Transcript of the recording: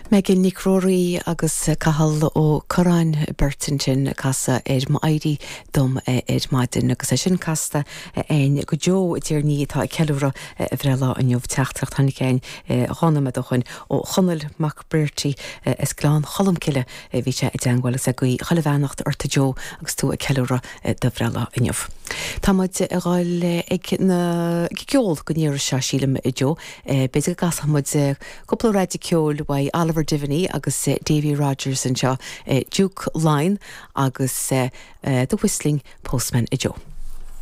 Megan Nic Ruairí agus Cathal Ó Curráin, beirt ansin ag casadh ar M'Éirí Dom ar Maidin agus é sin casta a'ainn go Joe i dTír an Fhia atá ag ceiliúradh a bhreithlá inniu. Teachtaireacht a tháinig a'ainn 2 nóiméad ó shoin ó Chonall Mac Brearty as Gleann Cholm Cille. Bhí sé i dteangmháil agus é ag guí chuile bheannacht ort a Joe agus tú ag ceiliúradh do bhreithlá inniu. Tá muid ag dhul ag na ag an gceol don iarraidh seo sílim a Joe. B'fhéidir go gcasfadh muid Cúpla raideadh ceoil uaidh Oliver Devaney agus Davy Rodgers anseo, Duke Line agus The Whistling Postman a Joe.